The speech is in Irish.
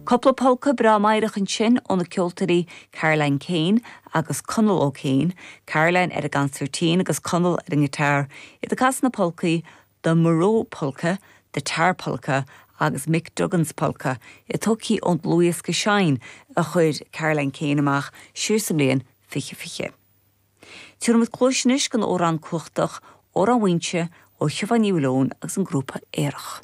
Cúpla polca breá meidhreach ansin ó na ceoltóirí Caroline Kane agus Conall O'Kane, Caroline ar an gconsairtín agus Conall ar an ngiotár, iad ag casadh na polcaí The Murroe Polka, The Tar Polka agus Mick Duggan's Polka, tógtha ón dlúthdhiosca Shine a chuir Caroline Kane amach siar sa mbliain 2020. Tabharfaimid cluais anois don amhrán cumhachtach, Órán Mhaínse, ó Shiobhán Ní Mhaoileoin agus an grúpa Aerach.